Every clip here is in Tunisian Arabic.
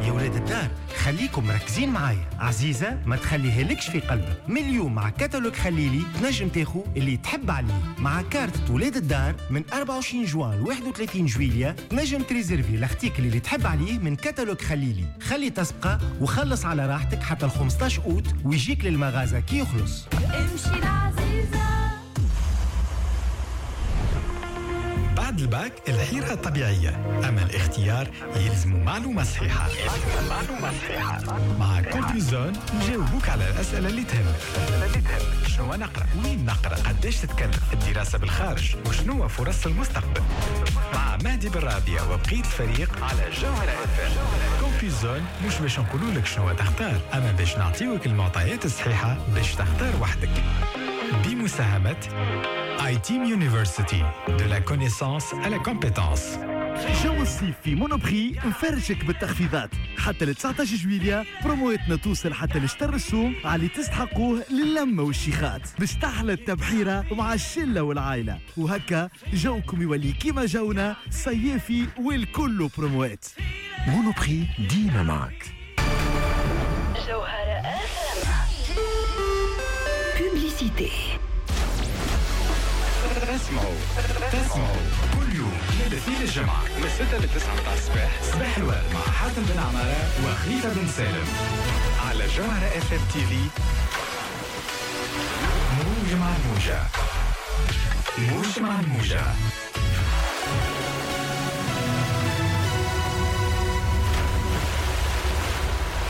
يا ولاد الدار خليكم مركزين معايا. عزيزة ما تخليها لكش في قلبك، من اليوم مع كتالوج خليلي تنجم تاخو اللي تحب عليه. مع كارت ولاد الدار من 24 جوان ل 31 جويليا تنجم تريزيرفي ال article اللي تحب عليه من كتالوج خليلي. خلي تسبقه وخلص على راحتك حتى ال 15 أوت ويجيك للمغازة كي يخلص. امشي العزيزة. بعد الباك الحيرة طبيعية، أما الاختيار يلزم معلومة صحيحة. مع Campus Zone نجاوبوك على الأسئلة اللي تهمك. شنو نقرأ؟ وين نقرأ؟ قداش تتكلف الدراسة بالخارج؟ وشنو فرص المستقبل؟ مع مهدي بالرابية وبقية الفريق على جوهرة FM. Campus Zone مش باش نقولوا لك شنو تختار، أما باش نعطيوك المعطيات الصحيحة باش تختار وحدك. بمساهمة ITEAM University, de la connaissance à la compétence. جو الصيف في Monoprix مفرشك بالتخفيضات حتى ل 19 جويليا. برومواتنا توصل حتى لشطر السوم على اللي تستحقوه للمة والشيخات باش تحلى التبحيرة مع الشلة والعائلة، وهكا جوكم يولي كيما جونا صيافي والكل بروموات. Monoprix ديما معك. جوهرة FM. Publicité. تسمعوا كل يوم من الاثنين للجمعة من 6 ل 9 متاع الصباح، صباح الورد مع حاتم بن عمارة وخليفة بن سالم على جوهرة FM TV. موج مع الموجة، موج مع الموجة.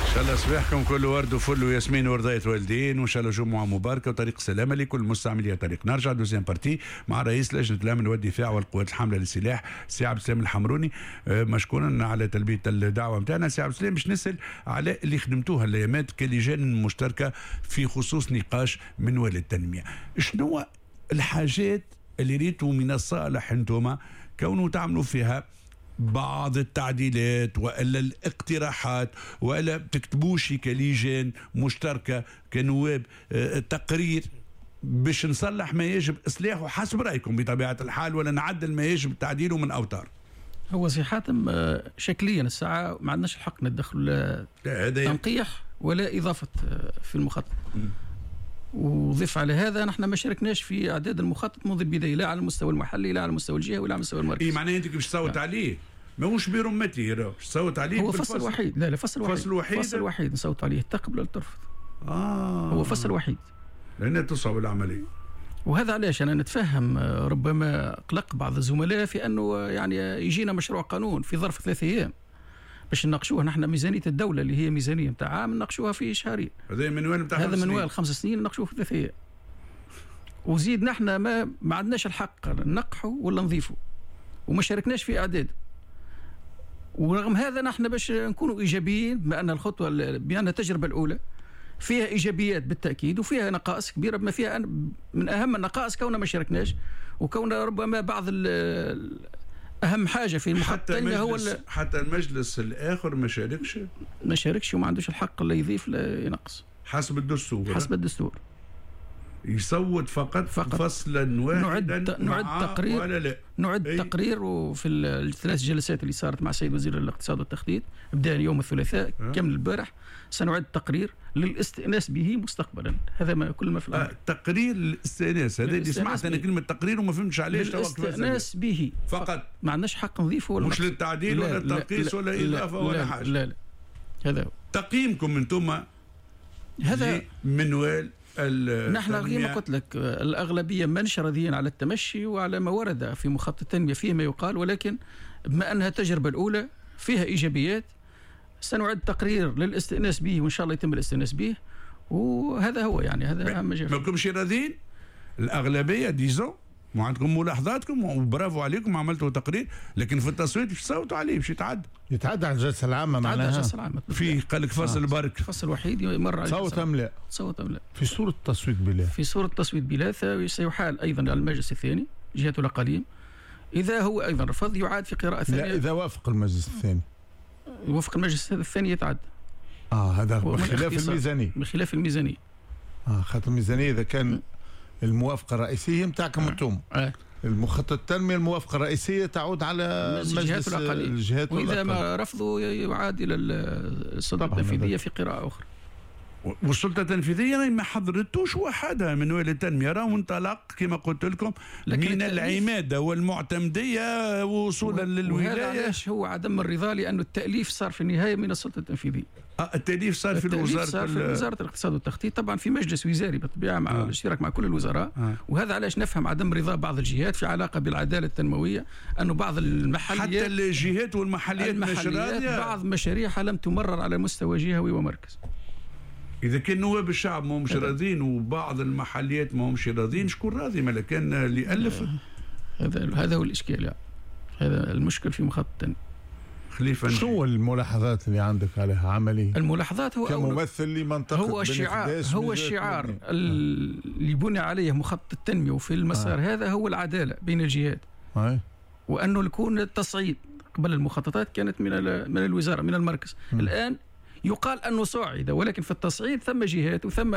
إن شاء الله صباحكم كله ورد وفل وياسمين ورضاية والدين، وإن شاء الله جمعة مباركة وطريق سلامة لكل مستعملي طريق. نرجع deuxième partie مع رئيس لجنة الأمن والدفاع والقوات الحاملة للسلاح سي عبد السلام الحمروني، مشكورا على تلبية الدعوة نتاعنا. سي عبد السلام، باش نسأل على اللي خدمتوها الأيامات كلجان مشتركة في خصوص نقاش منوال التنمية، شنو الحاجات اللي ريتوا من الصالح انتم كونوا تعملوا فيها بعض التعديلات والا الاقتراحات، والا تكتبوش كلجان مشتركة كنواب تقرير باش نصلح ما يجب اصلاحه حسب رايكم بطبيعة الحال، ولا نعدل ما يجب تعديله من اوتار؟ هو سي حاتم شكليا الساعة ما عندناش الحق ندخل لا تنقيح ولا اضافه في المخطط. وضيف على هذا نحن ما شاركناش في اعداد المخطط منذ البداية، لا على المستوى المحلي لا على المستوى الجهوي ولا على المستوى المركزي. اي معناها انت باش تصوت عليه ماهوش برمته، باش تصوت عليه هو فصل وحيد. لا فصل وحيد، فصل وحيد، فصل وحيد نصوت عليه، تقبل ولا ترفض. هو فصل وحيد لأن تصعب العملية. وهذا علاش انا نتفهم ربما قلق بعض الزملاء في انه يعني يجينا مشروع قانون في ظرف 3 ايام باش نناقشوه. نحن ميزانية الدولة اللي هي ميزانية نتاع عام نناقشوها في شهرين. هذا منوال نتاع هذا منوال 5 سنين نناقشوه في 3 ايام. وزيد نحن ما عندناش الحق ننقحه ولا نضيفه، وما شاركناش في اعداد. ورغم هذا نحن باش نكونوا ايجابيين، بما ان الخطوة بان التجربة الاولى فيها ايجابيات بالتاكيد وفيها نقائص كبيرة، بما فيها من اهم النقائص كوننا ما شاركناش، وكون ربما بعض اهم حاجة في المخطط هو حتى المجلس الاخر ما شاركش، ما شاركش وما عندوش الحق لا يضيف لا ينقص حسب الدستور. حسب الدستور يصوت فقط فصلا واحدا. نعد تقرير ولا لا؟ نعد تقرير. وفي الثلاث جلسات اللي صارت مع السيد وزير الاقتصاد والتخطيط بدا يوم الثلاثاء كمل البارح، سنعد تقرير للاستئناس به مستقبلا. هذا ما كل ما في الامر. تقرير للاستئناس، هذا اللي سمعت انا كلمة تقرير وما فهمتش علاش. للاستئناس به فقط، ما عندناش حق نضيفه ولا مش للتعديل ولا التنقيص ولا اضافه ولا حاجة. لا لا، هذا هو تقييمكم انتم هذا منوال. نحن كما قلت لك الأغلبية منش راضيين على التمشي وعلى ما ورد في مخطط التنمية فيه ما يقال، ولكن بما أنها التجربة الأولى فيها إيجابيات سنعد تقرير للاستئناس به، وإن شاء الله يتم الاستئناس به. وهذا هو يعني هذا أهم شيء. ما كنتش راضيين الأغلبية disons، وعندكم ملاحظاتكم وبرافو عليكم عملتوا تقرير، لكن في التصويت باش تصوتوا عليه باش يتعدى. يتعدى على الجلسة العامة معناها. الجلسة العامة في قال لك فصل برك، فصل وحيد يمر على صوت ام لا؟ صوت ام لا؟ في صوره التصويت بلا. في صوره التصويت بلا سيحال ايضا على المجلس الثاني جهة الاقاليم. اذا هو ايضا رفض يعاد في قراءة ثانية. لا، اذا وافق المجلس الثاني. وافق المجلس الثاني يتعدى. هذا بخلاف الميزانية. بخلاف الميزانية. خاطر الميزانية اذا كان الموافقة الرئيسية نتاعكم انتم. المخطط التنمية الموافقة الرئيسية تعود على مجلس الجهات، وإذا ما رفضوا يعاد إلى السلطة التنفيذية في قراءة أخرى. والسلطة التنفيذية ما حضرتوش وحدها من ولاية التنمية، راهو انطلق كما قلت لكم من العماده والمعتمديه وصولا للولاية. وهذا علاش هو عدم الرضا، لانه التاليف صار في النهاية من السلطة التنفيذية. التاليف صار في الوزارة، صار في وزارة الاقتصاد والتخطيط، طبعا في مجلس وزاري بالطبيعة مع الاشتراك مع كل الوزراء. وهذا علاش نفهم عدم رضا بعض الجهات في علاقة بالعدالة التنموية، انه بعض المحليات حتى الجهات والمحليات مش راضية، بعض مشاريعها لم تمرر على مستوى جهوي ومركز. إذا كان نواب الشعب ما همش راضين وبعض المحليات ما همش راضين، شكون راضي؟ ما كان اللي ألف. هذا هو الإشكال يعني. هذا المشكل في مخطط التنمية. خليفة، شو الملاحظات اللي عندك عليها عملي؟ الملاحظات هو كممثل لمنطقة هو الشعار، هو الشعار اللي بني عليه مخطط التنمية وفي المسار هذا هو العدالة بين الجهات. وأنه يكون التصعيد قبل المخططات كانت من الوزارة من المركز. الآن يقال أنه صعد، ولكن في التصعيد ثم جهات وثم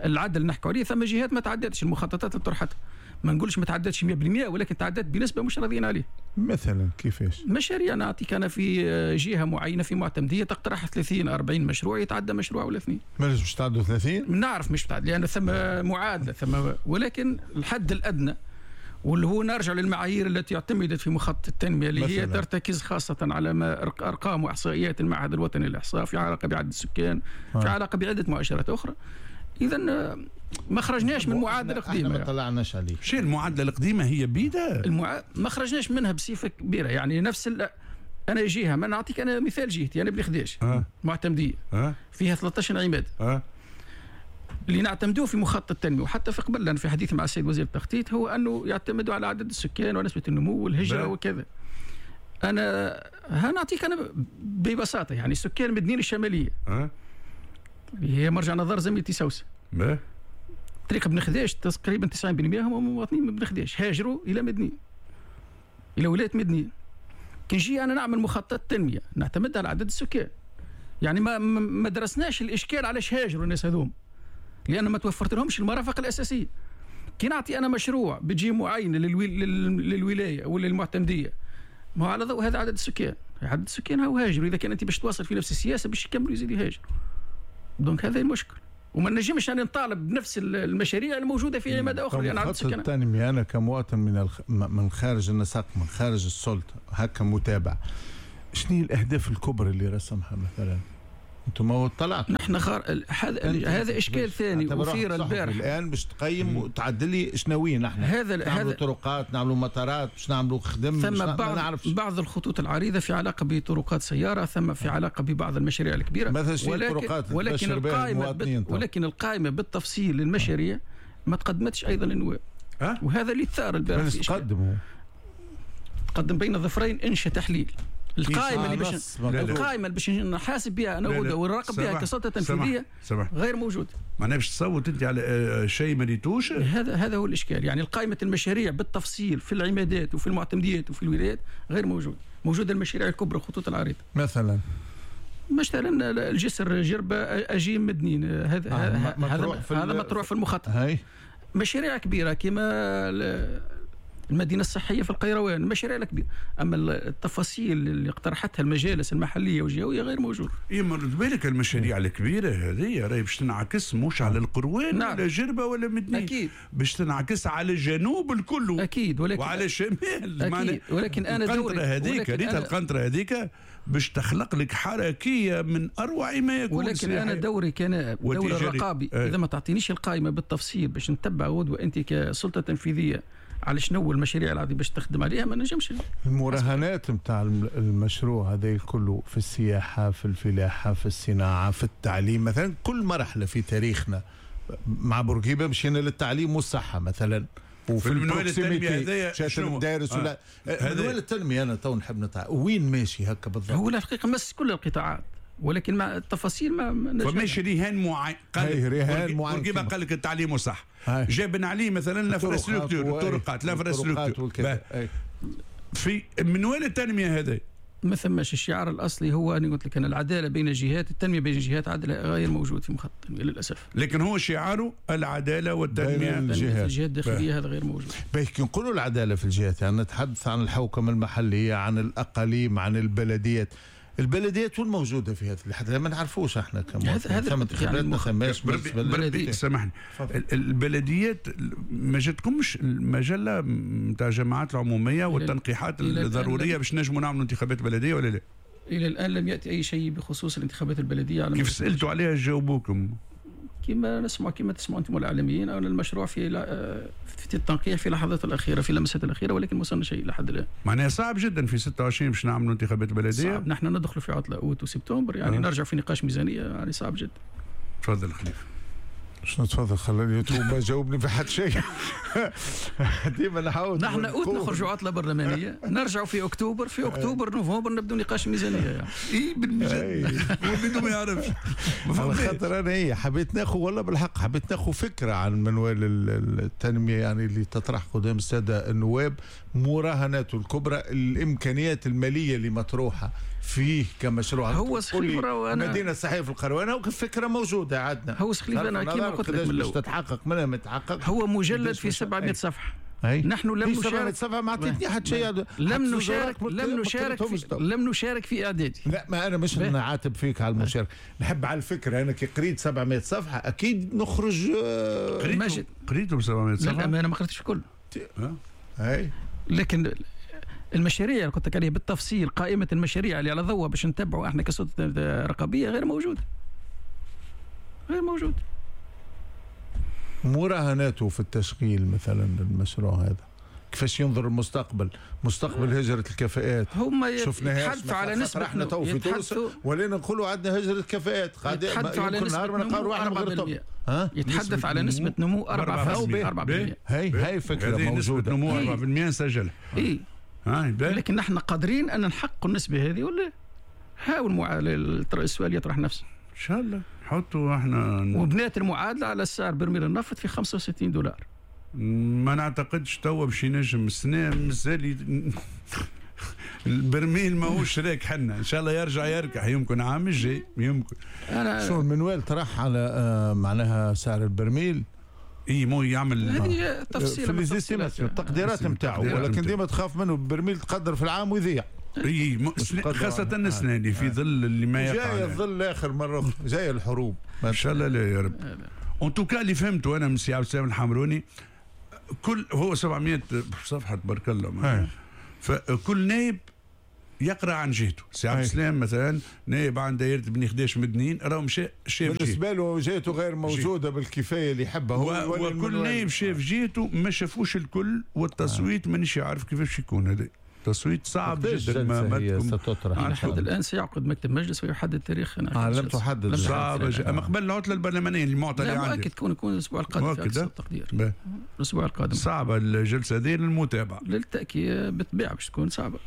العدل نحكي عليه، ثم جهات ما تعدتش المخططات اللي طرحتها. ما نقولش ما تعدتش 100%، ولكن تعدت بنسبة مش راضيين عليه. مثلا كيفاش؟ مشاريع، نعطيك أنا في جهة معينة في معتمدية تقترح 30 40 مشروع، يتعدى مشروع ولا اثنين. مش باش تعدوا 30؟ نعرف مش تعدي، لأن ثم معادلة ثم، ولكن الحد الأدنى واللي هو نرجع للمعايير التي اعتمدت في مخطط التنمية اللي هي ترتكز خاصة على ما أرقام وإحصائيات المعهد الوطني للإحصاء في علاقة بعدد السكان، في علاقة بعدة مؤشرات أخرى. إذا ما خرجناش من المعادلة القديمة. ما طلعناش عليه. شيء المعادلة القديمة هي بيدها. ما خرجناش منها بصفة كبيرة، يعني نفس أنا جهة، ما نعطيك أنا مثال جهتي، أنا بني خداش معتمدية فيها 13 عماد. اللي نعتمدوه في مخطط التنمية وحتى في قبل لأن في حديث مع السيد وزير التخطيط هو أنه يعتمدوا على عدد السكان ونسبة النمو والهجرة وكذا. أنا هنعطيك أنا ببساطة، يعني سكان مدنين الشمالية اللي هي مرجع نظر زميلتي سوسة، طريق بن خداش تقريبا 90% هم مواطنين من بن خداش هاجروا إلى مدنين، إلى ولاية مدنين. كي نجي أنا نعمل مخطط تنمية نعتمد على عدد السكان، يعني ما درسناش الإشكال علاش هاجروا الناس هذوم، لأن ما توفرت لهمش المرافق الأساسية. كي نعطي أنا مشروع بتجي معينة للولاية ولا للمعتمدية، ما هو على ضوء هذا عدد السكان، عدد السكان هو هاجر. إذا كان أنت باش تواصل في نفس السياسة باش يكملوا يزيد يهاجر. donc هذا المشكل، وما نجمش أن نطالب بنفس المشاريع الموجودة في عمادة أخرى لأن عدد السكان. التنمية أنا كمواطن من خارج النسق، من خارج السلطة، هكا متابع، شنو هي الأهداف الكبرى اللي رسمها مثلا؟ انتم ما طلعت نحن هذا اشكال ثاني اثير البارح. الان باش تقيم وتعدل لي شنو نحن هذا نعملوا طرقات، نعملوا مطارات، باش نعملوا خدم، ثم بعض الخطوط العريضة في علاقة بطرقات سيارة، ثم في علاقة ببعض المشاريع الكبيرة مثلا الطرقات، ولكن القائمة بالتفصيل للمشاريع ما تقدمتش ايضا للنواب. وهذا اللي ثار البارح. تقدم بين الظفرين انشاء تحليل القائمة اللي باش القائمة اللي باش نحاسب بها انا ونراقب بها كسلطه تنفيذية غير موجودة. معناها باش تصوت انت على شيء ما ريتوش. هذا هو الاشكال، يعني القائمة المشاريع بالتفصيل في العمادات وفي المعتمديات وفي الولايات غير موجودة. موجودة المشاريع الكبرى الخطوط العريضة مثلا الجسر جربه اجيم مدنين، هذا هذا مطروح في المخطط. مشاريع كبيرة كما المدينة الصحية في القيروان، المشاريع الكبيرة. أما التفاصيل اللي اقترحتها المجالس المحلية والجهوية غير موجودة. إيه مرد بالك المشاريع الكبيرة هذه راهي باش تنعكس مش على القروان ولا جربة ولا مدنين، أكيد باش تنعكس على الجنوب الكل، أكيد، ولكن وعلى الشمال أكيد. ولكن أنا دوري هذيك ريت القنطرة هذيك باش تخلق لك حركية من أروع ما يكون. ولكن أنا دوري كان دور الرقابي، إذا ما تعطينيش القائمة بالتفصيل باش نتبع غدوة أنت كسلطة تنفيذية على شنو المشاريع العظيمة باش تخدم عليها ما نجمش. المراهنات نتاع المشروع هذا كله في السياحة، في الفلاحة، في الصناعة، في التعليم مثلا، كل مرحلة في تاريخنا مع بورقيبة مشينا للتعليم والصحة مثلا، وفي المنوال التنمية هذايا المدارس ولا منوال التنمية. انا تو نحب نتع وين ماشي هكا بالضبط. هو الحقيقة مس كل القطاعات، ولكن مع التفاصيل ما فماش رهان معين. قال بورقيبة قال لك التعليم والصحة، جاب بن علي مثلا l'infrastructure، الطرقات، l'infrastructure في منوال التنمية هذا ما ثماش. الشعار الاصلي هو انا قلت لك انا العدالة بين الجهات، التنمية بين الجهات، عدالة غير موجود في مخطط التنمية للاسف. لكن هو شعاره العدالة والتنمية بين الجهات. الجهات الداخلية هذا غير موجود. باهي كي نقولوا العدالة في الجهات يعني نتحدث عن الحوكمة المحلية، عن الاقاليم، عن البلديات. البلديات وين موجودة في هذا لحد ما نعرفوش احنا كمواطنين. هذا ثم انتخابات يعني ما ثماش. بربي سامحني، البلديات ما جاتكمش المجلة نتاع الجماعات العمومية والتنقيحات الضرورية باش نجموا نعملوا انتخابات بلديه ولا لا؟ الى الان لم ياتي اي شيء بخصوص الانتخابات البلدية. على كيف سالتوا عليها جاوبوكم؟ كما نسمع، كما تسمعوا انتم الاعلاميين، او المشروع في التنقيح في اللحظات الاخيرة، في اللمسات الاخيرة، ولكن ما وصلنا شيء لحد الان. معناها صعب جدا في 26 باش نعملوا انتخابات بلديه. صعب، نحن ندخل في عطله اوت وسبتمبر يعني نرجع في نقاش ميزانية، يعني صعب جدا. تفضل خليفة. شنو تفضل؟ خلاني ما جاوبني في حد شيء. ديما نحاول. نحن اوت نخرجوا عطله برلمانية، نرجعوا في اكتوبر، في اكتوبر نوفمبر نبدو نقاش ميزانية يعني. اي بالمجد هو ما يعرفش. على خاطر انا حبيت ناخذ والله بالحق حبيت ناخذ فكرة عن منوال التنمية يعني اللي تطرح قدام السادة النواب، مراهناته الكبرى، الامكانيات المالية اللي مطروحة فيه كمشروع. هو سخيف المدينة الصحية في القروانه وكفكره موجودة عندنا. هو سخيف انا كيما قلت لك من الاول تتحقق منها ما تتحقق. هو مجلد في 700 صفحة. نحن لم نشارك 700 صفحة ما عطيتني حتى شيء. لم نشارك في اعدادي. لا ما انا مش نعاتب فيك على المشاركة، نحب على الفكرة. انا كي قريت 700 صفحة اكيد نخرج. قريتهم 700 صفحة؟ لا انا ما قريتش الكل. اي لكن المشاريع اللي قلت لك عليها بالتفصيل، قائمة المشاريع اللي على ضوء باش نتبعوا احنا كسلطه رقابية غير موجودة. غير موجود. مراهناته في التشغيل مثلا المشروع هذا كيفاش ينظر المستقبل، مستقبل هجرة الكفاءات. هم يتحدثوا على نسبة، احنا تو في تونس ولينا نقولوا عندنا هجرة كفاءات، يتحدثوا على نسبة نمو 4%. يتحدث على نسبة نمو 4%. هاي فكرة موجودة، نمو 4% نسجلها. اي لكن نحن قادرين ان نحقق النسبة هذه ولا؟ هاو السؤال يطرح نفسه. ان شاء الله نحطوا احنا وبنات المعادلة على سعر برميل النفط في $65. ما نعتقدش توا باش ينجم السنة مازال البرميل ماهوش راك حنا، ان شاء الله يرجع يركح يمكن عام الجاي يمكن. شو المنوال طرح على معناها سعر البرميل؟ اي مو يعمل هذه تفصيله في التقديرات نتاعو، ولكن ديما تخاف منه البرميل تقدر في العام ويضيع. اي خاصة السنة اللي في ظل اللي ما يقع. جاي الظل الاخر مرة أخرى، جاي الحروب. ان شاء الله لا يا رب. en tout cas اللي فهمته انا من سي عبد السلام الحمروني، كل هو 700 صفحة تبارك الله، فكل نايب يقرا عن جهته. سي عبد السلام مثلا نايب عن دائرة بني خداش مدنين، راهو مشى شاف بالنسبة له جهته غير موجودة بالكفايه اللي يحبها هو، وكل نايب شاف جهته ما شافوش الكل، والتصويت مانيش عارف كيفاش يكون هذا. تصويت صعب جدا. ما ستطرح لحد الان سيعقد مكتب مجلس ويحدد تاريخ. لم تحدد. صعب اما قبل العطلة البرلمانية المعطى اللي عندي مؤكد يكون الاسبوع القادم في اقصى التقدير. الاسبوع القادم صعبة الجلسة هذه للمتابعة للتاكيد بالطبيعة باش تكون صعبة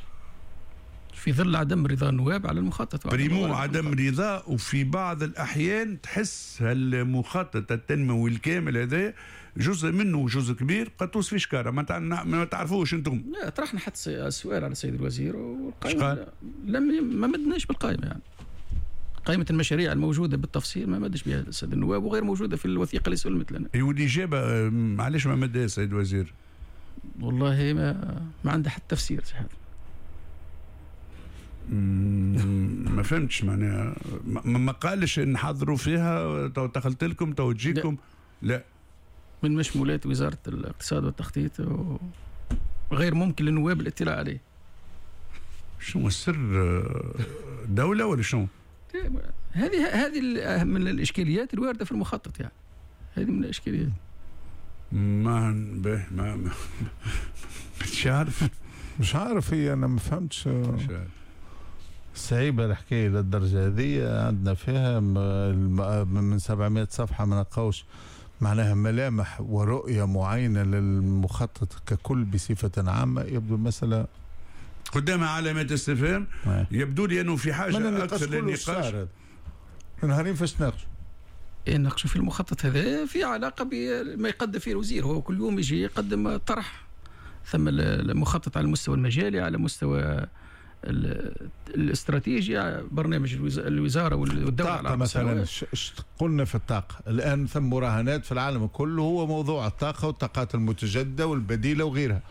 في ظل عدم رضا النواب على المخطط. primo عدم رضا، وفي بعض الاحيان تحس المخطط التنموي الكامل هذا جزء منه وجزء كبير قد توصف في شكاره ما تعرفوش انتم. لا طرحنا حتى السؤال على السيد الوزير والقائمه لم ما مدناش بالقائمه، يعني قائمة المشاريع الموجودة بالتفصيل ما مدش بها السيد النواب وغير موجودة في الوثيقة اللي سلمت لنا. والاجابة علاش ما مدها السيد الوزير؟ والله ما عنده حتى تفسير هذا. ما فهمتش معناها، ما قالش نحضروا فيها تو دخلت لكم تو تجيكم. لا من مشمولات وزارة الاقتصاد والتخطيط وغير ممكن للنواب الاطلاع عليه. شنو السر دولة ولا شنو؟ هذه من الإشكاليات الواردة في المخطط، يعني هذه من الإشكاليات. ما ما مش عارف، مش عارف هي أنا ما فهمتش. صعيبة الحكاية للدرجة هذه، عندنا فيها من 700 صفحة ما نلقاوش معناها ملامح ورؤية معينة للمخطط ككل بصفة عامة. يبدو المسألة قدامها علامات استفهام. يبدو لي أنه في حاجة أكثر للنقاش. نهارين فاش ناقشوا؟ ناقشوا في المخطط هذا في علاقة بما يقدم فيه الوزير، هو كل يوم يجي يقدم طرح، ثم المخطط على المستوى المجالي، على مستوى الاستراتيجيا برنامج الوزارة والدولة. الطاقة مثلا، قلنا في الطاقة الان ثم مراهنات في العالم كله، هو موضوع الطاقة والطاقات المتجددة والبديله وغيرها.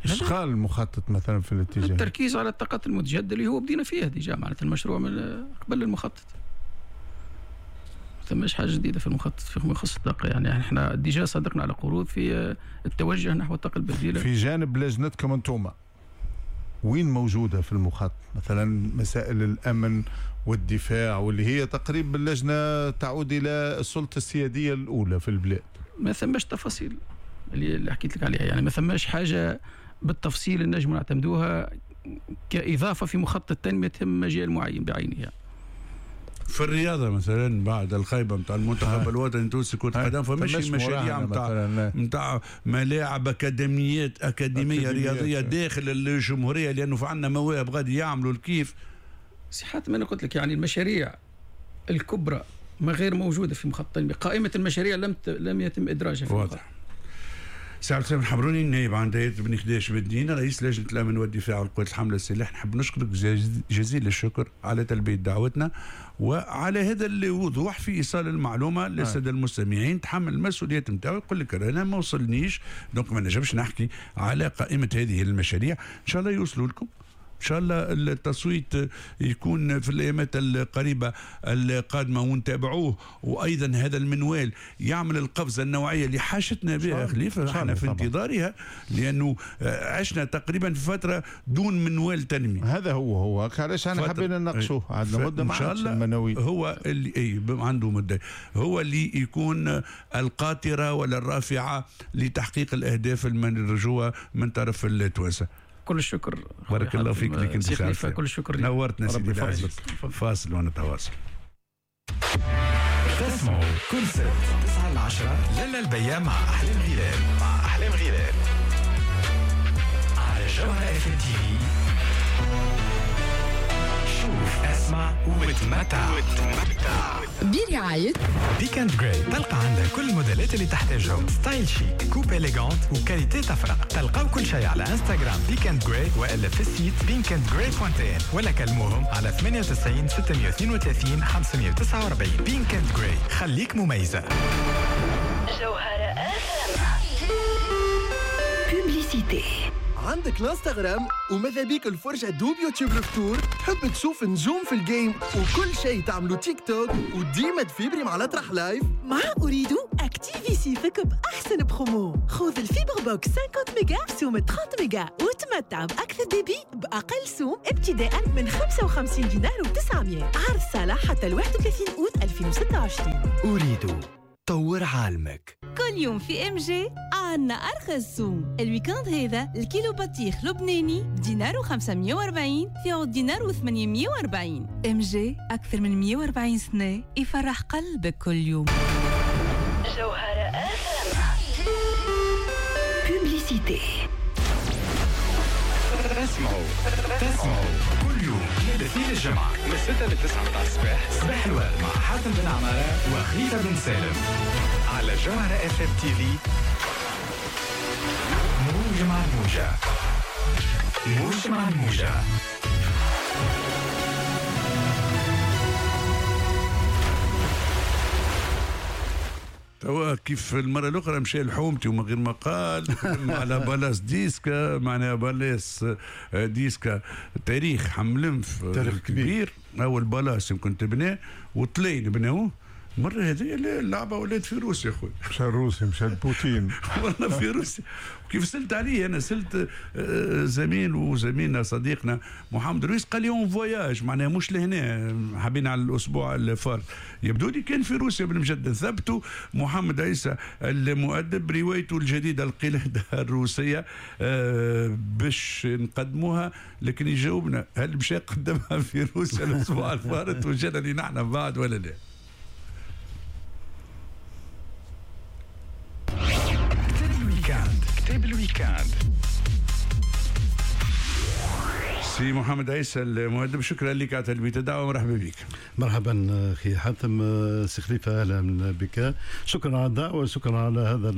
ايش قال المخطط مثلا في الاتجاه؟ التركيز على الطاقات المتجددة اللي هو بدينا فيها déjà، معناتها المشروع من قبل المخطط. ما ثماش حاجة جديدة في المخطط فيما يخص الطاقة، يعني احنا déjà صدقنا على قروض في التوجه نحو الطاقة البديلة. في جانب لجنتكم انتم وين موجودة في المخطط مثلا مسائل الامن والدفاع واللي هي تقريبا اللجنة تعود الى السلطة السياديه الاولى في البلاد؟ ما ثماش تفاصيل اللي حكيت لك عليها، يعني ما ثماش حاجة بالتفصيل نجم نعتمدوها كاضافه في مخطط تنمية تهم مجال معين بعينه. يعني في الرياضة مثلا بعد الخيبه نتاع المنتخب الوطني التونسي كره قدم، فماشي مشاريع نتاع ملاعب اكاديميات اكاديمية رياضية داخل الجمهورية، لانه في عندنا مواهب غادي يعملوا الكيف. سي حاتم انا قلت لك يعني المشاريع الكبرى ما غير موجودة في مخطط التنمية، قائمة المشاريع لم يتم ادراجها في المخطط. سي عبد السلام الحمروني النائب عن دائرة بني خداش بالدين، رئيس لجنة الأمن والدفاع والقوات الحاملة للسلاح، نحب نشكرك جزيل الشكر على تلبية دعوتنا وعلى هذا الوضوح في إيصال المعلومة للسادة المستمعين. تحمل المسؤوليات نتاعو، يقول لك أنا ما وصلنيش donc ما نجمش نحكي على قائمة هذه المشاريع. إن شاء الله يوصلوا لكم، إن شاء الله التصويت يكون في الأيامات القريبة القادمة ونتابعوه، وأيضا هذا المنوال يعمل القفزة النوعية اللي حاجتنا بها خليفة، احنا في انتظارها، لأنه عشنا تقريبا في فترة دون منوال تنمية. هذا هو علاش احنا حبينا نناقشوه، عندنا مدة ما عادش المناويل. هو اللي عنده مدة، هو اللي يكون القاطرة ولا الرافعة لتحقيق الأهداف المرجوة من طرف التوانسة. كل الشكر، بارك الله فيك لك انت سي، كل الشكر، نورتنا سيدي العزيز. فاصل ونتواصل. تسمعوا كل سبت 9 ل 10 لالا البيا مع احلام غلال، مع احلام غلال على جوهرة FM TV. شوف، اسمع وتمتع. برعاية Pick and Grey، تلقى عندها كل الموديلات اللي تحتاجهم، style chic، coupe élégante و qualité تفرق. تلقاو كل شيء على انستغرام Pick and Grey والا في ال site pinkandgrey.tn، ولا كلموهم على 98 632 549. Pink and Grey، خليك مميزة. جوهرة publicité. عندك الانستغرام وماذا بيك الفرجة دوب يوتيوب الفطور، تحب تشوف نجوم في ال game وكل شيء تعملو تيك توك وديما تفيبري مع الأطرح live. مع Ooredoo اكتيفي صيفك بأحسن برومو، خذ ال fibre box 50 ميجا بسوم 30 ميجا وتمتع بأكثر débit بأقل سوم ابتداء من 55 دينار و900. عرض صالح حتى 31 أوت 2026. Ooredoo، طور عالمك. كل يوم في MG عنا ارخص سوم. ال week-end هذا الكيلو بطيخ لبناني بدينار و540 في عود دينار و840. MG اكثر من 140 سنة يفرح قلبك كل يوم. جوهرة publicité. تسمعوا كل يوم من الاثنين للجمعة من 6 ل 9 متاع الصباح، صباح الورد مع حاتم بن عمارة وخليفة بن سالم على جوهرة FM TV. موجة مع الموجة، موجة مع الموجة. توا كيف المرة الأخرى مشى لحومتي ومن غير ما قال على palace ديسكا، معناها palace ديسكا تاريخ حملنف تاريخ كبير، أول palace يمكن تبناه وطلين بناوه. المرة هذه اللعبة ولات في روسيا خويا. مشى روسيا، مشى بوتين. والله في روسيا. وكيف سألت عليه أنا، سألت زميل وزميلنا صديقنا محمد رويس، قال لي en voyage، معناها مش لهنا، حابين على الأسبوع الفارط. يبدو لي كان في روسيا بالمجد. ثبتوا محمد عيسى المؤدب روايته الجديدة القلادة الروسية باش نقدموها، لكن يجاوبنا هل مشى قدمها في روسيا الأسبوع الفارط وجانا لي نحن بعد ولا لا؟ كتاب ال week-end. سي محمد عيسى المؤدب، شكرا لك على تلبية الدعوة ومرحبا بك. مرحبا اخي حاتم، سي خليفة اهلا بك، شكرا على الدعوة وشكرا على هذا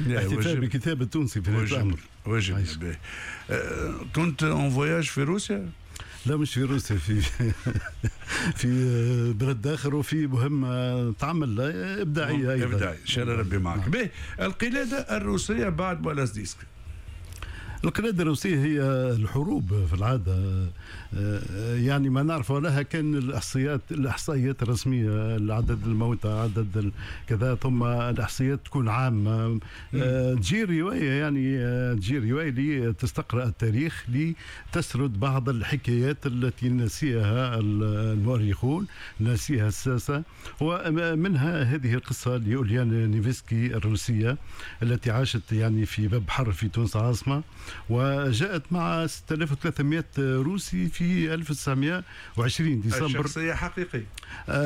الاحتفال بالكتاب التونسي في هذا الامر. واجب. كنت en voyage في روسيا؟ لا مش في روسيا، في بلد اخر، وفي مهمة تعمل ابداعية ايضا. ابداعي، ان شاء الله ربي معك. به القلادة الروسية بعد بالاس ديسك. القلادة الروسية هي الحروب في العادة، يعني ما نعرف لها كان الإحصائيات الرسمية، العدد الموتى، عدد كذا، ثم الإحصائيات تكون عامة. تجي رواية، يعني تجي رواية لتستقرأ التاريخ، لتسرد بعض الحكايات التي نسيها المؤرخون، نسيها الساسة، ومنها هذه القصة لأوليان نيفسكي الروسية التي عاشت يعني في باب بحر في تونس العاصمة، وجاءت مع 6300 روسي في 1920 ديسمبر. الشخصية حقيقية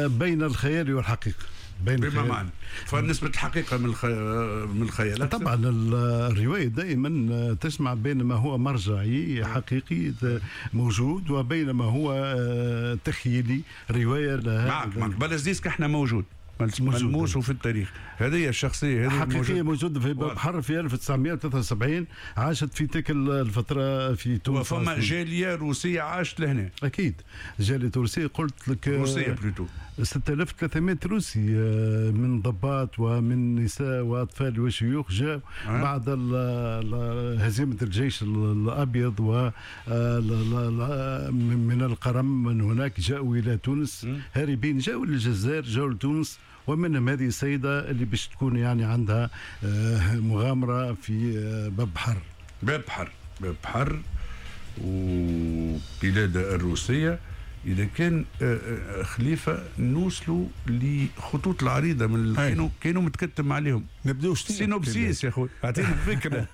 بين الخيال والحقيقة. بما معنى فنسبة الحقيقة من الخيال؟ طبعا الرواية دائما تجمع بين ما هو مرجعي حقيقي موجود وبين ما هو تخيلي. رواية لها معك بالاس ديسك احنا موجود ملموس في التاريخ. هذه الشخصية هذه حقيقية موجودة في باب بحر في 1973، عاشت في تلك الفترة في تونس. وفما جالية روسية عاشت لهنا. أكيد جالية روسية، قلت لك روسية plutôt 6300 روسي من ضباط ومن نساء وأطفال وشيوخ جاء بعد هزيمة الجيش الأبيض و من القرم من هناك جاءوا إلى تونس هاربين، جاءوا للجزائر، جاءوا لتونس، ومنهم هذه السيدة اللي باش تكون يعني عندها مغامرة في باب بحر. باب بحر، باب بحر وقلادة الروسية. إذا كان خليفة نوصلوا لخطوط العريضة من كانوا متكتم عليهم. نبداو synopsis يا خويا، أعطينا فكرة.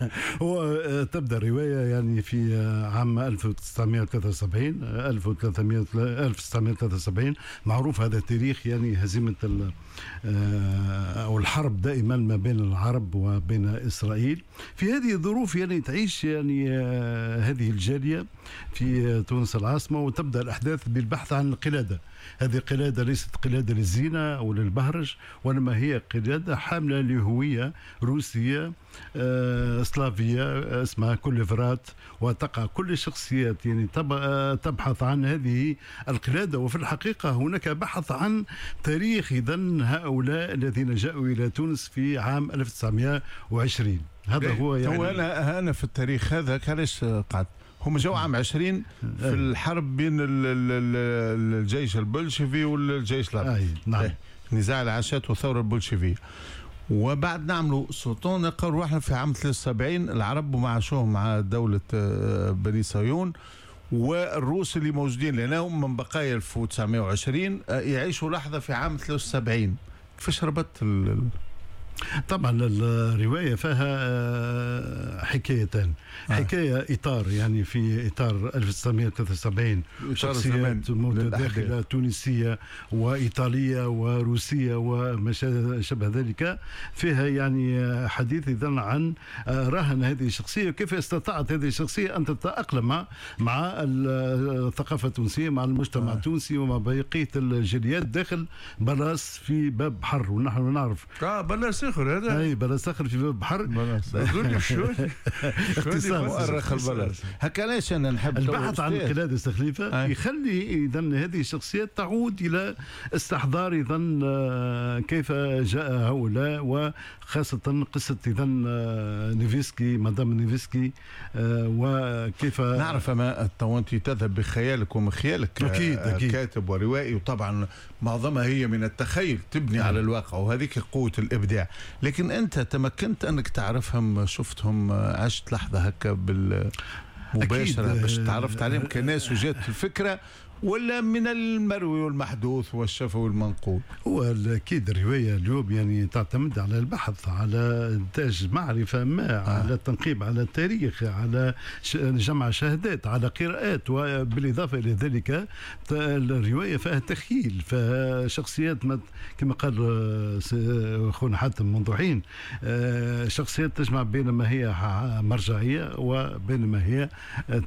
هو تبدأ الرواية يعني في عام 1973، 1973 معروف هذا التاريخ، يعني هزيمة أو الحرب دائما ما بين العرب وبين إسرائيل. في هذه الظروف يعني تعيش يعني هذه الجالية في تونس العاصمة، وتبدأ الأحداث بالبحث عن القلادة. هذه القلادة ليست قلادة للزينة أو للبهرج، وإنما هي قلادة حاملة لهوية روسية سلافية اسمها كوليفرات، وتقع كل الشخصيات يعني تبحث عن هذه القلادة. وفي الحقيقة هناك بحث عن تاريخ إذن هؤلاء الذين جاءوا إلى تونس في عام 1920. هذا هو يعني هو أنا في التاريخ هذا علاش قعدت. هم جاوا عام 20 في الحرب بين الجيش البلشفي والجيش العربي. نعم. نزاع العاشات والثورة البلشفية. وبعد نعملوا سلطان نلقاو روحنا في عام 73 العرب ومعاشوهم مع دولة بني صهيون، والروس اللي موجودين لأنهم من بقايا 1920 يعيشوا لحظة في عام 73. كيفاش ربطت؟ طبعا الرواية فيها حكايتان. حكاية إطار يعني في إطار 1973 شخصيات متداخلة تونسية وإيطالية وروسية وما شابه ذلك، فيها يعني حديث إذن عن رهن هذه الشخصية وكيف استطاعت هذه الشخصية أن تتأقلم مع الثقافة التونسية، مع المجتمع التونسي ومع بقية الجاليات داخل بلاس في باب بحر. ونحن نعرف بلاس آخر هذا، اي بلاس آخر في باب بحر. اختصار مؤرخ البلاس. هكا علاش انا نحب البحث عن القلادة الخليفة يخلي اذا هذه الشخصيات تعود الى استحضار اذا كيف جاء هؤلاء، وخاصة قصة اذا نيفسكي، مدام نيفسكي، وكيف نعرف. ما انت تذهب بخيالك ومخيالك. اكيد اكيد كاتب وروائي، وطبعا معظمها هي من التخيل، تبني على الواقع، وهذيك قوة الإبداع. لكن أنت تمكنت أنك تعرفهم، شفتهم، عشت لحظة هكا بالمباشرة باش تعرفت عليهم كناس وجات الفكرة، ولا من المروي والمحدوث والشفوي والمنقول؟ هو اكيد الرواية اليوم يعني تعتمد على البحث، على انتاج معرفة ما، على التنقيب على التاريخ، على جمع شهادات، على قراءات، وبالاضافة الى ذلك الرواية فيها تخيل، فيها شخصيات كما قال اخونا حاتم منذ حين، شخصيات تجمع بين ما هي مرجعية وبين ما هي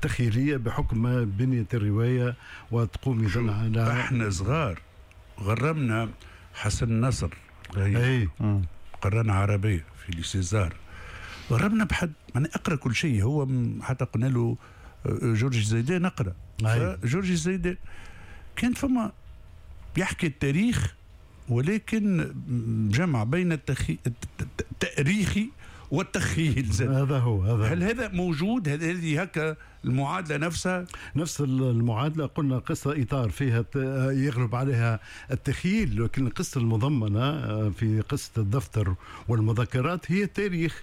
تخيليه بحكم بنيه الرواية وتقوم إذن على. احنا صغار غرمنا حسن نصر، اي قرانا عربية في ليسيزار، غرمنا بحد انا اقرا كل شيء. هو حتى قلنا له جورج زيدان اقرا، جورج زيدان كان فما يحكي التاريخ، ولكن جمع بين التاريخي والتخيل زاد. هذا هو هذا. هل هذا موجود؟ هذه هكا المعادلة نفسها؟ نفس المعادلة. قلنا قصة إطار فيها يغلب عليها التخيل، لكن القصة المضمنة في قصة الدفتر والمذكرات هي تاريخ.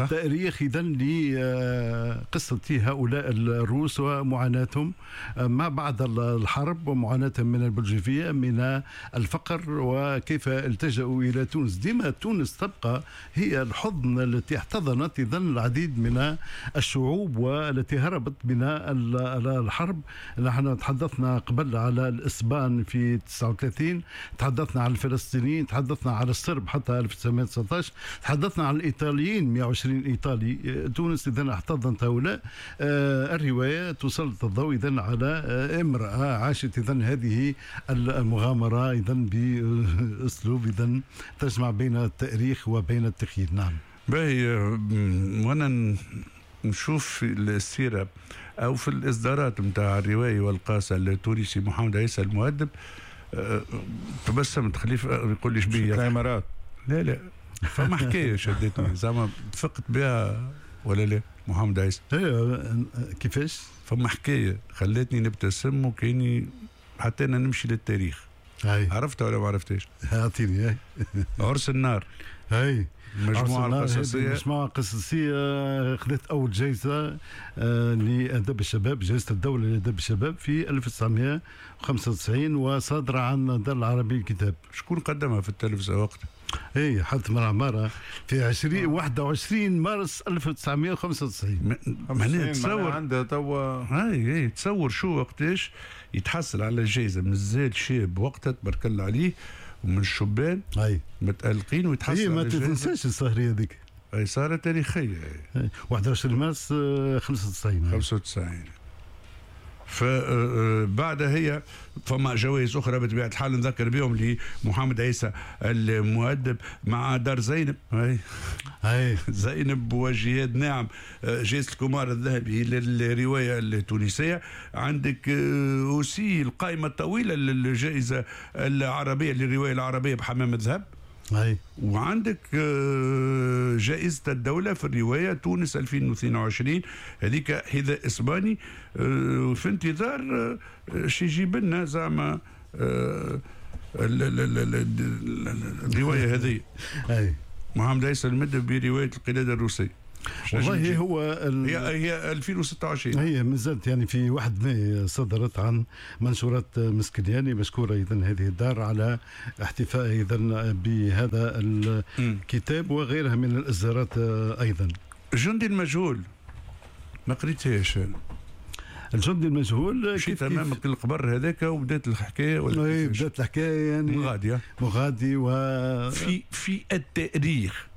تاريخ إذن لقصة هؤلاء الروس ومعاناتهم ما بعد الحرب، ومعاناتهم من البلجيفية، من الفقر، وكيف التجأوا إلى تونس. ديما تونس تبقى هي الحضن التي احتضنت إذن العديد من الشعوب والتي هربت من الحرب. نحن تحدثنا قبل على الإسبان في 39، تحدثنا على الفلسطينيين، تحدثنا على الصرب حتى 1919، تحدثنا على الإيطاليين 120 إيطالي. تونس إذن احتضنت هؤلاء. الرواية تسلط الضوء إذن على امرأة عاشت إذن هذه المغامرة إذن بأسلوب إذن تجمع بين التاريخ وبين التخيل. نعم. باهي. وانا نشوف في السيرة أو في الإصدارات نتاع الرواية والقاصة التونسي محمد عيسى المؤدب، تبسمت. خليفة يقول لي شبيه الإمارات. لا لا، فما حكاية شدتني زعما فقت بها ولا لا محمد عيسى؟ كيفاش؟ فما حكاية خلتني نبتسم وكأني حتى أنا نمشي للتاريخ. عرفتها ولا ما عرفتهاش؟ اعطيني. عرس النار. هاي المجموعة القصصية. المجموعة القصصية خذت أول جائزة لأدب الشباب، جائزة الدولة لأدب الشباب في 1995، وصادرة عن دار العربي للكتاب. شكون قدمها في التلفزة وقتها؟ اي حاتم العمارة في 21 مارس 1995. معناها تصور عندها توا. اي تصور شو وقتاش يتحصل على الجائزة، مازال شاب وقتها تبارك الله عليه، ومن الشبان متألقين ويتحصل. ما تنساش السهرية هذيك. اي سهرة تاريخية. 21 مارس 95. 95. فبعدها هي فما جوائز أخرى بطبيعة الحال نذكر بهم لمحمد عيسى المؤدب مع دار زينب. هاي زينب وجهاد ناعم، جائزة الكمار الذهبي للرواية التونسية. عندك aussi القائمة الطويلة للجائزة العربية للرواية العربية بحمام الذهب. وعندك جائزة الدولة في الرواية تونس 2022، هذيك حذاء إسباني. في انتظار شي يجيب لنا زعما الرواية هذه. محمد عيسى المدب برواية القلادة الروسية. والله هو هي 2026، هي مازالت يعني في 1 ماي صدرت عن منشورات مسكلياني. مشكورة اذا هذه الدار على احتفاء اذا بهذا الكتاب وغيرها من الاصدارات ايضا. الجندي المجهول ما قريتهاش. الجندي المجهول مشيت امامك القبر هذاك وبدات الحكاية ولا إيه؟ بدات الحكاية يعني مغادي في التاريخ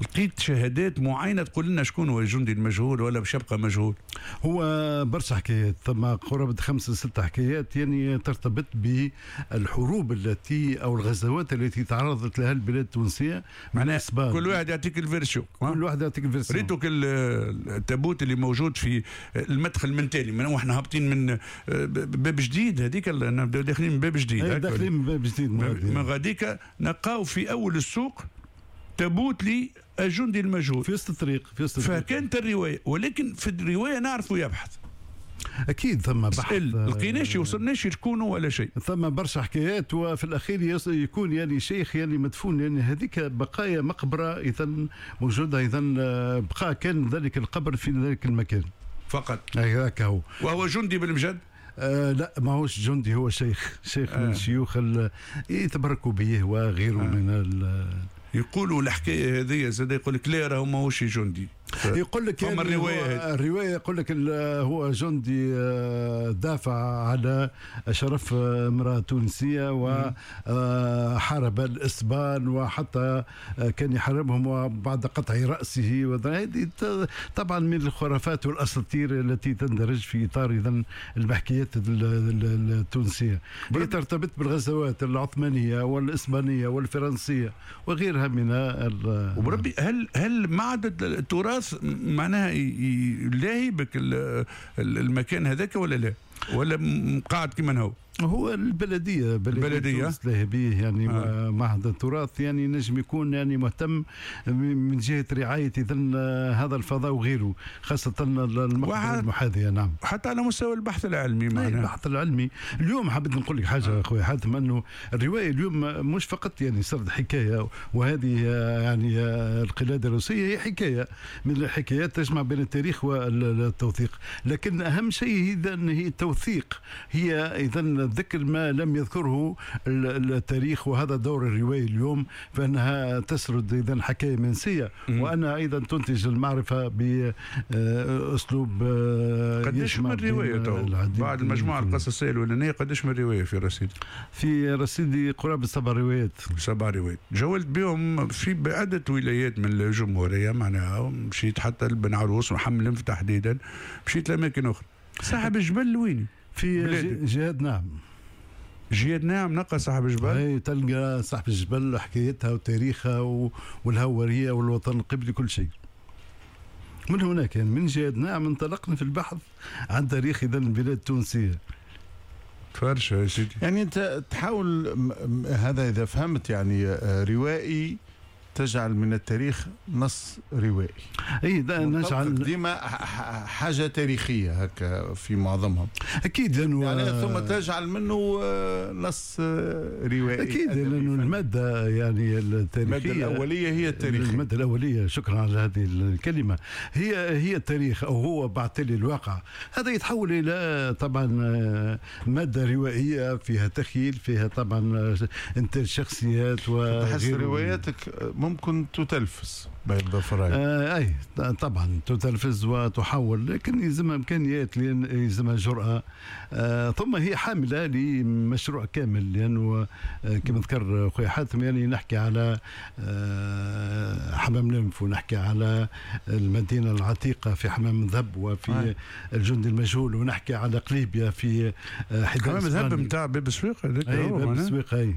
لقيت شهادات معينة تقول لنا شكون هو الجندي المجهول ولا باش يبقى مجهول؟ هو برشا حكايات، ثم قرابة 5 6 حكايات يعني ترتبط بالحروب التي او الغزوات التي تعرضت لها البلاد التونسية. معناها كل واحد يعطيك ال version. كل واحد يعطيك ال version. ريتو التابوت اللي موجود في المدخل من تالي، من واحنا هابطين من باب جديد، هذيك نبداو داخلين من باب جديد. داخلين من باب جديد من غاديك نلقاو في اول السوق تابوت للجندي المجهول في وسط الطريق، في وسط الطريق. فكانت الرواية، ولكن في الرواية نعرفوا يبحث اكيد ثم بحث، لقيناش وصلناش شكون ولا شيء. ثم برشا حكايات، وفي الاخير يكون يعني شيخ يعني مدفون، يعني هذيك بقايا مقبره اذا موجودة، اذا بقى كان ذلك القبر في ذلك المكان فقط. هذاك هو. وهو جندي بالمجد؟ لا ماهوش جندي، هو شيخ، شيخ من الشيوخ يتبركوا به وغيره من يقولوا الحكاية هذه زاد، يقول لك لا راهو ماهوش جندي. يقول لك يعني الرواية، الرواية يقول لك هو جندي دافع على شرف امراة تونسية وحارب الاسبان وحتى كان يحاربهم وبعد قطع راسه. هذه طبعا من الخرافات والاساطير التي تندرج في اطار اذا المحكيات التونسية، هي ترتبط بالغزوات العثمانية والاسبانيه والفرنسيه وغيرها من وبربي هل معدد التراث معناها لاهي بك المكان هذاك ولا لا؟ ولا قاعد كما هو؟ هو البلدية له به يعني معهد التراث يعني نجم يكون يعني مهتم من جهة رعاية اذا هذا الفضاء وغيره، خاصة المقبرة المحاذيه. نعم، حتى على مستوى البحث العلمي معناها. البحث العلمي اليوم حبيت نقول لك حاجة اخوي حاتم، انه الرواية اليوم مش فقط يعني سرد حكاية، وهذه يعني القلادة الروسية هي حكاية من الحكايات تجمع بين التاريخ والتوثيق، لكن اهم شيء اذا هي التوثيق، هي اذا ذكر ما لم يذكره التاريخ، وهذا دور الرواية اليوم، فإنها تسرد إذا حكاية منسية، وأنها أيضا تنتج المعرفة بأسلوب. قديش من رواية بعد المجموعة القصصية الأولانية، قديش من رواية في رصيدي؟ في رصيدي قرابة 7 روايات. 7 روايات جولت بهم في بعدة ولايات من الجمهورية، معناها مشيت حتى لبن عروس وحمل تحديدا، مشيت لأماكن أخرى. صاحب الجبل وين؟ في جهاد نعم. جهاد نعم نلقى صاحب الجبل؟ اي تلقى صاحب الجبل حكايتها وتاريخها والهوريه والوطن القبلي كل شيء. من هناك يعني من جهاد نعم انطلقنا في البحث عن تاريخ اذا البلاد التونسية. فرشة يا سيدي. يعني انت تحاول هذا اذا فهمت يعني روائي تجعل من التاريخ نص روائي. اي نجعل ديما حاجة تاريخية هكا في معظمهم. اكيد لانه يعني ثم تجعل منه نص روائي. اكيد لانه المادة يعني التاريخية، المادة الاولية هي التاريخ. المادة الاولية، شكرا على هذه الكلمة، هي التاريخ او هو بعتلي الواقع. هذا يتحول الى طبعا مادة روائيه فيها تخيل، فيها طبعا انتاج شخصيات وتحس رواياتك ممكن تتلفز بين ظفرين. اي طبعا تتلفز وتحول، لكن يلزمها امكانيات، لان يلزمها جرأة. ثم هي حامله لمشروع كامل، لانه كما ذكر خويا حاتم يعني نحكي على حمام لنف، ونحكي على المدينة العتيقة في حمام ذهب وفي الجندي المجهول، ونحكي على قليبيا في حمام ذهب نتاع باب السويق هذاك. اي باب السويق اي.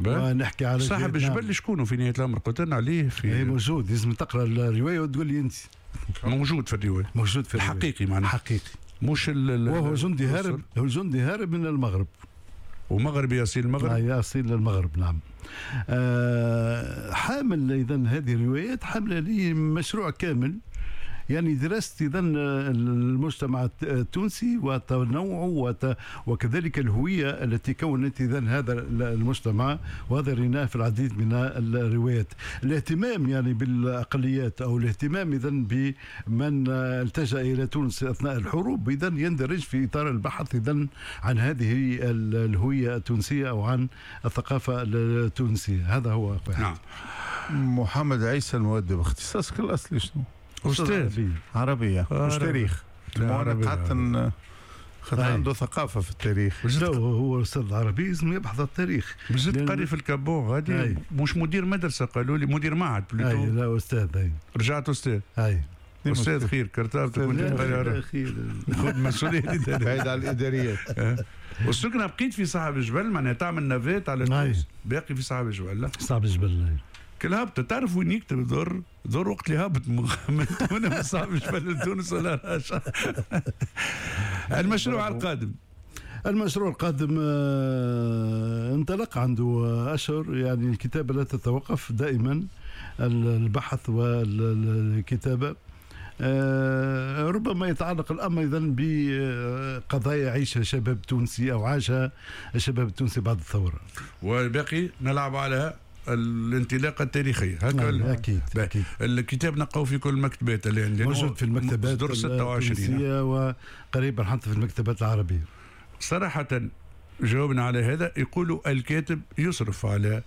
ونحكي على صاحب الجبل شكونه في نهاية الامر قلت لنا عليه في اي موجود، لازم تقرا الرواية وتقول لي انت موجود في الرواية. موجود في الرواية الحقيقي معناها حقيقي، مش وهو جندي هارب، هو جندي هارب من المغرب، ومغربي اصيل المغرب. اصيل المغرب نعم. حامل اذا هذه الروايات حامله لي مشروع كامل، يعني درست اذا المجتمع التونسي وتنوعه وكذلك الهوية التي كونت اذا هذا المجتمع، وهذا ريناه في العديد من الروايات. الاهتمام يعني بالاقليات او الاهتمام اذا بمن التجا الى تونس اثناء الحروب اذا يندرج في اطار البحث اذا عن هذه الهوية التونسية او عن الثقافة التونسية. هذا هو. نعم. محمد عيسى المؤدب، اختصاصك الاصلي شنو؟ أستاذ عربية مش تاريخ. أنا قعدت خاطر عنده ثقافة في التاريخ. لا هو أستاذ عربي لازم يبحث التاريخ. زدت قاري في الكابون غادي، مش مدير مدرسة قالوا لي، مدير معهد plutôt. أي لا أستاذ. أي رجعت أستاذ. أي أستاذ خير كرتابتك كنت تقرا خير، خذ مسؤولية بعيد على الإداريات. والسكنة بقيت في صاحب الجبل، معناها تعمل navette على تونس، باقي في صاحب الجبل. لا صاحب الجبل كل هبطة تعرف وين يكتب ضر وقت اللي هبط من تونس صعب جبل تونس ولا راشا. المشروع القادم. المشروع القادم انطلق عنده أشهر، يعني الكتابة لا تتوقف دائما، البحث والكتابة. ربما يتعلق الأمر أيضا بقضايا عيشها شباب تونسي أو عاشها الشباب التونسي بعد الثورة. والباقي نلعب على الانطلاقة التاريخية هكا. اكيد اكيد. الكتاب نلقاو في كل المكتبات اللي عندنا، موجود في المكتبات 26 وقريبا حتى في المكتبات العربية. صراحة جاوبنا على هذا، يقولوا الكاتب يصرف على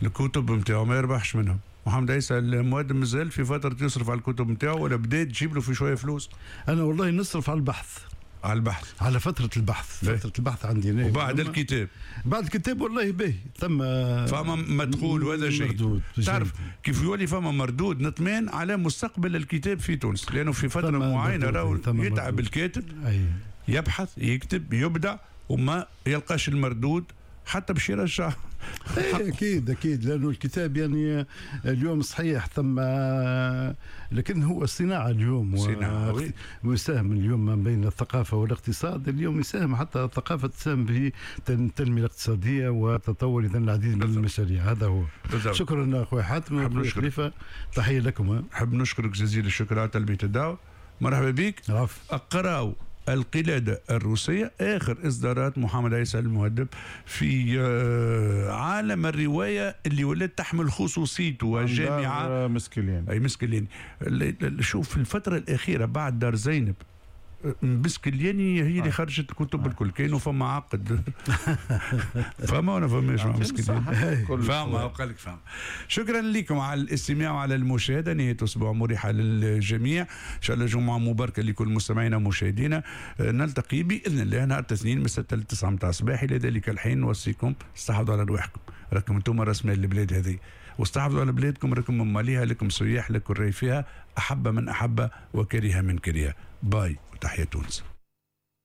الكتب نتاعو ما يربحش منهم. محمد عيسى المؤدب مازال في فترة يصرف على الكتب نتاعو ولا بدات تجيب له في شوية فلوس؟ انا والله نصرف على البحث. على البحث، على فترة البحث. فترة البحث عندي. وبعد الكتاب، بعد الكتاب والله باهي ثم فما مدخول وهذا شيء. تعرف كيف يولي فما مردود نطمئن على مستقبل الكتاب في تونس، لأنه في فترة معينة راهو يتعب الكاتب. أي. يبحث يكتب يبدع وما يلقاش المردود حتى باش يرجع. اكيد اكيد، لانه الكتاب يعني اليوم صحيح ثم، لكن هو صناعة اليوم، صناعة ويساهم اليوم ما بين الثقافة والاقتصاد. اليوم يساهم حتى الثقافة تساهم في التنمية الاقتصادية وتطور اذا العديد من المشاريع. هذا هو. بالضبط. شكرا اخوي حاتم خليفة، تحية لكم. نحب نشكرك جزيل الشكر على تلبية الدعوة، مرحبا بك. اقراوا القلادة الروسية، آخر إصدارات محمد عيسى المؤدب في عالم الرواية اللي ولات تحمل خصوصيته الجامعة مسكلين. أي مسكلين. شوف في الفترة الأخيرة بعد دار زينب مسكلياني هي اللي خرجت الكتب الكل، كانوا فما عقد فما ولا فماش مع مسكلياني، فما وقال لك فما. شكرا لكم على الاستماع وعلى المشاهدة، نهاية اسبوع مريحه للجميع، ان شاء الله جمعه مباركة لكل مستمعينا ومشاهدينا. نلتقي باذن الله نهار الاثنين من 6 ل 9 متاع الصباح. الى ذلك الحين نوصيكم استحافظوا على رواحكم، راكم انتم راس مال البلاد هذه، واستحافظوا على بلادكم، راكم مماليها، لكم سياح، لكم الري فيها، احب من احب وكره من كره. باي وتحية تونس.